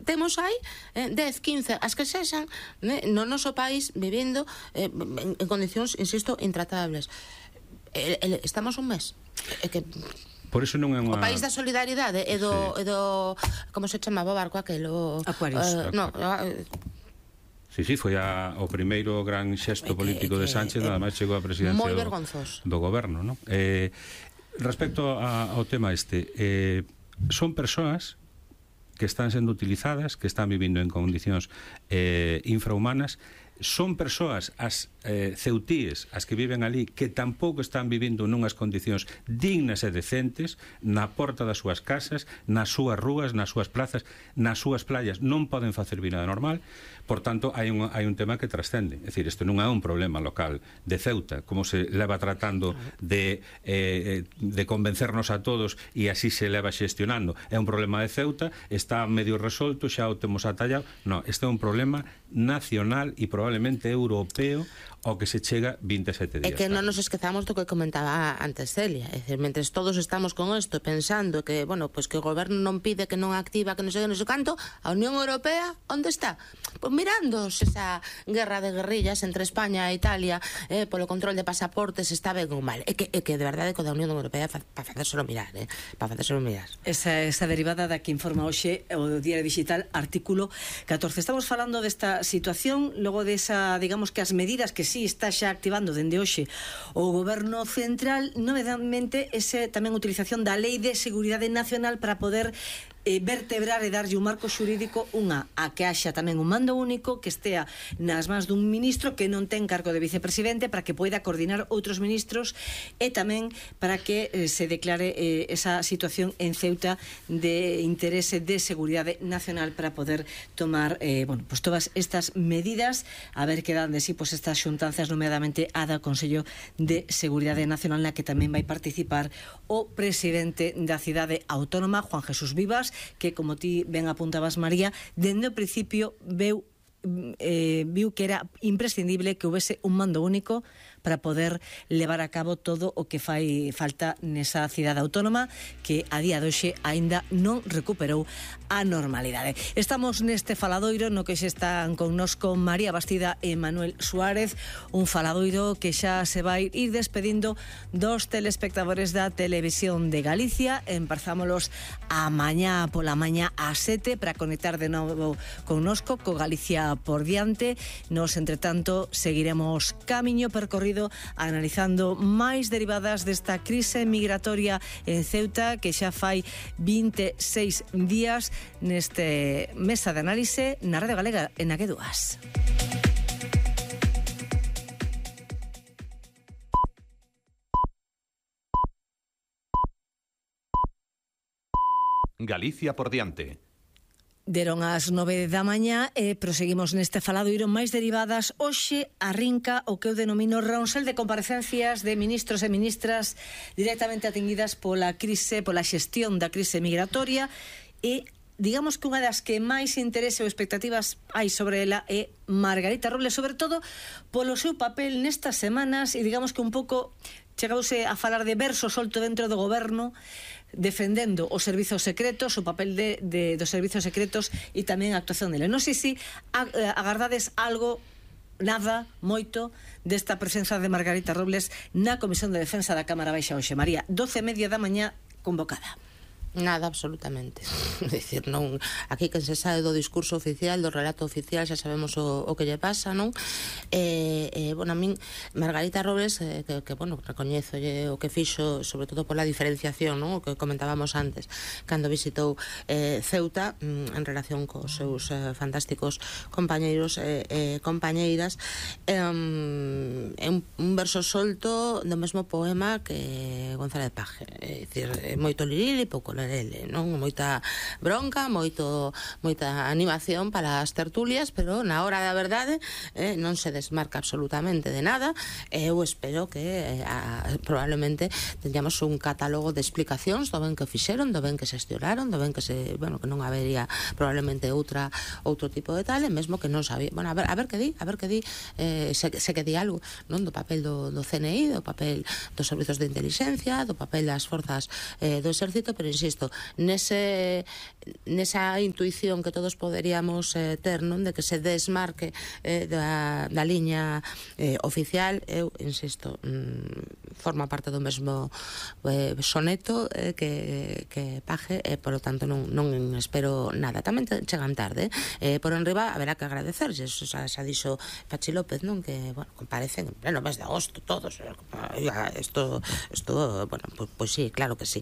temos aí 10, 15, as que sexan no noso país vivindo en condicións, insisto, intratables. Estamos un mes que por iso non é unha... O país da solidaridade e do como se chamaba o barco aquelo? Aquarius. Sí, foi o primeiro gran xesto político de Sánchez, nada máis chegou a presidencia do goberno, non? Respecto ao tema son persoas que están sendo utilizadas, que están vivindo en condicións infrahumanas, son persoas, as ceutíes, as que viven ali, que tampouco están vivindo nunhas condicións dignas e decentes na porta das súas casas, nas súas rúas, nas súas plazas, nas súas playas, non poden facer vida normal. Por tanto, hai un tema que trascende. É dicir, isto non é un problema local de Ceuta, como se leva tratando de convencernos a todos e así se leva xestionando. É un problema de Ceuta, está medio resolto, xa o temos atallado. Non, este é un problema nacional e probablemente europeo ao que se chega 27 días. É que non nos esquezamos do que comentaba antes Celia. É dicir, mentres todos estamos con isto pensando que, bueno, pues que o goberno non pide, que non activa, que non sei canto, a Unión Europea, onde está? Pois mirando esa guerra de guerrillas entre España e Italia polo control de pasaportes, está ben ou mal. É que de verdade que da Unión Europea para facérselo mirar, para facérselo mirar. Esa derivada da que informa hoxe o Diario Digital, artículo 14. Estamos falando desta situación, logo desa, digamos que as medidas que sí está xa activando dende hoxe o goberno central, novedadamente tamén utilización da Lei de Seguridade Nacional para poder vertebrar e darlle un marco xurídico a que haxa tamén un mando único que estea nas mans dun ministro que non ten cargo de vicepresidente, para que poida coordinar outros ministros e tamén para que se declare esa situación en Ceuta de interese de seguridade nacional para poder tomar pues todas estas medidas, a ver que dan de sí estas xuntanzas, nomeadamente a da Consello de Seguridade Nacional, na que tamén vai participar o presidente da cidade autónoma, Juan Jesús Vivas, que, como ti ben apuntabas, María, dende o principio viu que era imprescindible que houvese un mando único para poder levar a cabo todo o que fai falta nesa cidade autónoma que a día de hoxe aínda non recuperou a normalidade. Estamos neste faladoiro no que xe están connosco María Bastida e Manuel Suárez, un faladoiro que xa se vai ir despedindo dos telespectadores da Televisión de Galicia. Empezámolos a mañá pola mañá a 7 para conectar de novo connosco co Galicia por diante. Nos, entretanto, seguiremos camiño percorrido analizando máis derivadas desta crise migratoria en Ceuta, que xa fai 26 días neste mesa de análise na Radio Galega en AG2. Galicia por diante. Deron as 9 da mañá e proseguimos neste faladoiro máis derivadas. Hoxe arrinca o que eu denomino ronsel de comparecencias de ministros e ministras directamente atingidas pola crise, pola xestión da crise migratoria, e digamos que unha das que máis interese ou expectativas hai sobre ela é Margarita Robles, sobre todo polo seu papel nestas semanas, e digamos que un pouco chegouse a falar de verso solto dentro do goberno, defendendo os servizos secretos, o papel dos servizos secretos e tamén a actuación dele. Non sei se agardades algo, nada, moito desta presenza de Margarita Robles na Comisión de Defensa da Cámara Baixa hoxe. María, 12:30 da mañá convocada. Nada, absolutamente. É dicir, non, aquí que se sabe do discurso oficial, do relato oficial, xa sabemos o que lle pasa, non? Bueno, a min, Margarita Robles, que bueno, recoñezo o que fixo, sobre todo pola diferenciación, non? O que comentábamos antes, cando visitou Ceuta, en relación cos seus fantásticos compañeiros e compañeiras, é un verso solto do mesmo poema que González Paje. É dicir, moito liril e pouco lerele, non? Moita bronca, moita animación para as tertulias, pero na hora da verdade non se desmarca absolutamente de nada. Eu espero que probablemente teñamos un catálogo de explicacións do ben que fixeron, do ben que se xestionaron, do ben que que non habería probablemente outro tipo de tal, e mesmo que non sabía, bueno, a ver que di, se que di algo, non, do papel do CNI, do papel dos servizos de inteligencia, do papel das forzas do exército, pero insisto, insisto, nesa intuición que todos poderíamos ter, non, de que se desmarque da liña oficial, eu insisto, forma parte do mesmo soneto que Paje, e polo tanto non espero nada. Tamén chegan tarde, por enriba haberá que agradecerlles, xa dixo Pachi López, non, que, bueno, comparecen en pleno mes de agosto todos, isto, bueno, pues sí, claro que sí,